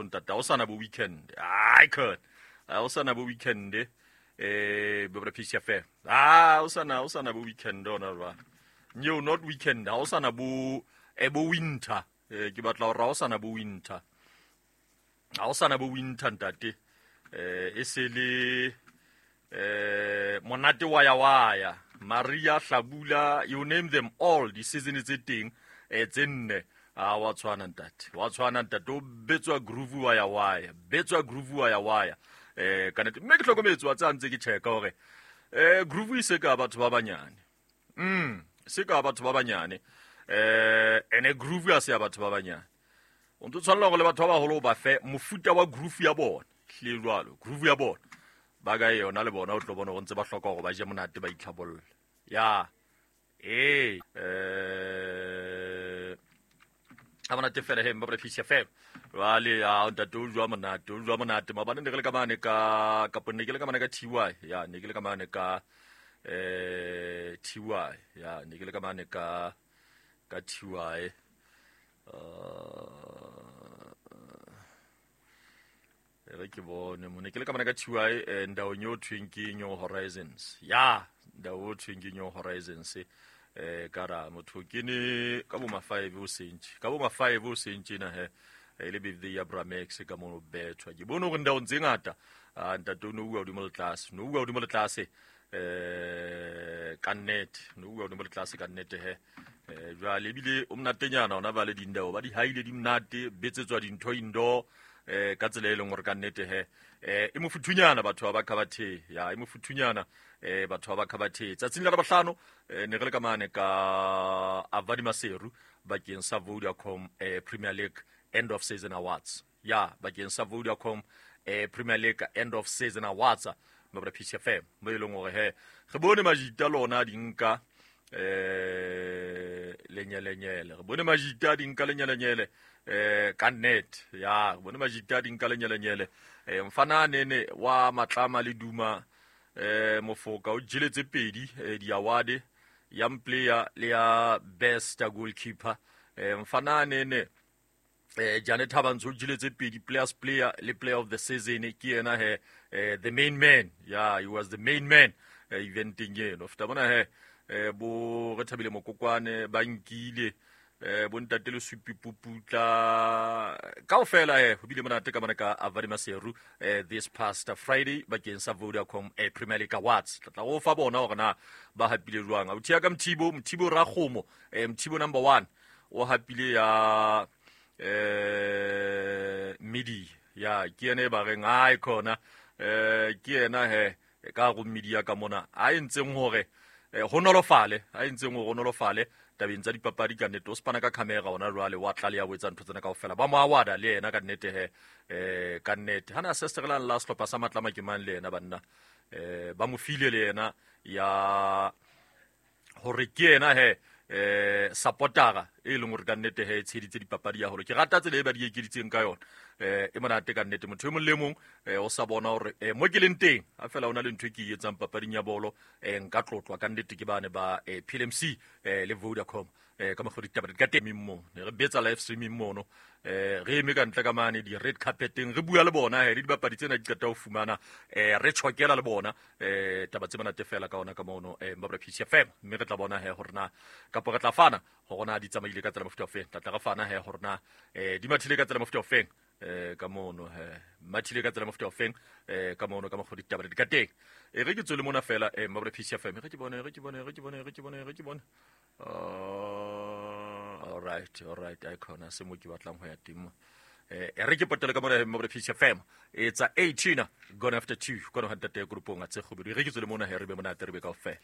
ntate. Ha o sana bo weekend. Ai khona. Ha o sana bo weekend bo PCFM. Ah, o sana bo weekend ona jwale. No, not weekend. Ha o sana bo bo winter. Ke batla hore ha o sana bo winter. Ha o sana bo winter ntate. E se le monate wa ya wa ya. Maria Hlabula, you name them all, di season tse teng tse nne. A wa tshwana ntate. Wa tshwana ntate, o betswa groove wa ya wa ya. Betswa groove wa ya wa ya. Ka nnete mme ke hlokometse wa tsa ntse ke checka hore groove e se ka batho ba banyane. Se ka batho ba banyane. Ene groove ya se ya batho ba banyane. O ntse tshwanela hore le batho ba baholo ba fe mofuta wa groove ya bona. Hle jwalo, groove ya bona. Ba ka yona le bona o tlo bona hore ntse ba hloka hore ba je monate ba itlhabolle. Ya. Ha monate fela he mba Peace FM. Jwale ya ntate o jwa monate, o jwa monate. Maobane ne ke le ka mane ka kapo ne ke le ka mane ka TY. Ya ne ke le ka mane ka TY. Ya ne ke le ka mane ka TY. Re ke bone mo ne ke le ka mane ka TY ndawong eo thweng ke New Horizons. Ya ndawo thweng ke New Horizons. Ka ra motho ke ne ka bo ma 5 o sentse. Ka bo ma 5 o sentse na he. Le birthday ya Bramex ka mono bethwa. Ke bone hore ndawong tse ngata. Ntate o no bua hodimo le tlase. No bua hodimo le tlase. Ka nnete. No bua hodimo le tlase ka nnete he. Jwale ebile o monatenyana ona ba le dindao ba di haile di monate betsetswa dintho indoor ka tsela e leng hore ka nnete he e mofuthunyana batho ba Khabathe. Ya e mofuthunyana batho ba Khabathe. Tsatsing la Labohlano ne re le ka mane ka Avadi Maseru bakeng sa Vodacom Premier League End of Season Awards. Ya bakeng sa Vodacom Premier League End of Season Awards mabra Peace FM mo e leng hore he re bone majita lona di nka lenyelenyele. Re bone majita di nka lenyelenyele ka net. Ya re bone majita di nka lenyelenyele. Mfana nene wa matlama le duma mofoka o jeletse pedi di award young player le ya best goalkeeper. Mfana nene Janet Thabantsho o jeletse pedi players player le player of the season. Ke yena he the main man. Ya he was the main man eventeng eno. Feta bona he bo re thabile mokokwane ba nkile bo ntate le supi puputla kaofela he ho bile monate ka mona ka Avadi Maseru this past Friday bakeng sa Vodacom Premier League Awards. Tla go fa bona hore na ba hapile jwang. Authi ya ka Mthibo, Mthibo Rakgomo, Mthibo number 1 o hapile ya media. Ya ke yena e ba reng ai khona ke yena he ka go media ka mona a entseng hore ho nolofale, a entseng hore ho nolofale tabeng tsa dipapadi ka nnete. O spana ka camera ona jwale wa tlaleha o etsa ntho tsena kaofela. Ba mo awada le yena ka nnete he ka nnete. Hana se la sehlopha sa Matlama ke mang le yena banna ba mo file le yena ya hore ke yena he supportera e leng hore ka nnete he e tsheditse dipapadi ya hore ke rata tsela e ba di ekeditseng ka yona. E monate ka nnete. Motho e mong le mong o sa bona hore mo ke leng teng ha fela ona le ntho e ke e etsang papading ya bolo nka tlotlwa ka nnete ke bane ba PLMC le Vodacom ka mokgwa ditaba di ka teng mo ne re betsa live streaming mono re eme ka ntle ka mane di red carpeteng re bua le bona he le dibapadi tsena di qeta ho fumana re tjhokela le bona taba tse monate fela ka ona ka mono Mbabra Peace FM. Mme re tla bona he hore na kapo re tla fana hore na di tsamaile ka tsela mofuta ofeng. Tla re fana he hore na di mathile ka tsela mofuta ofeng ka mono he mathile ka tsela mofuta ofeng ka mono ka mokgwa ditaba di ka teng. Re ke tswele mona fela Mbabra Peace FM. Re ke bone re ke bone re ke bone re ke bone re ke bone. All right, all right. I khona se mo ke batlang ho ya teng mo. Re ke potele ka mona Mbabra Peace FM. It's a 18 gone after 2 kona ho ntate grupong a tse kgobedu. Re ke tswele mona he re be monate re be kaofela.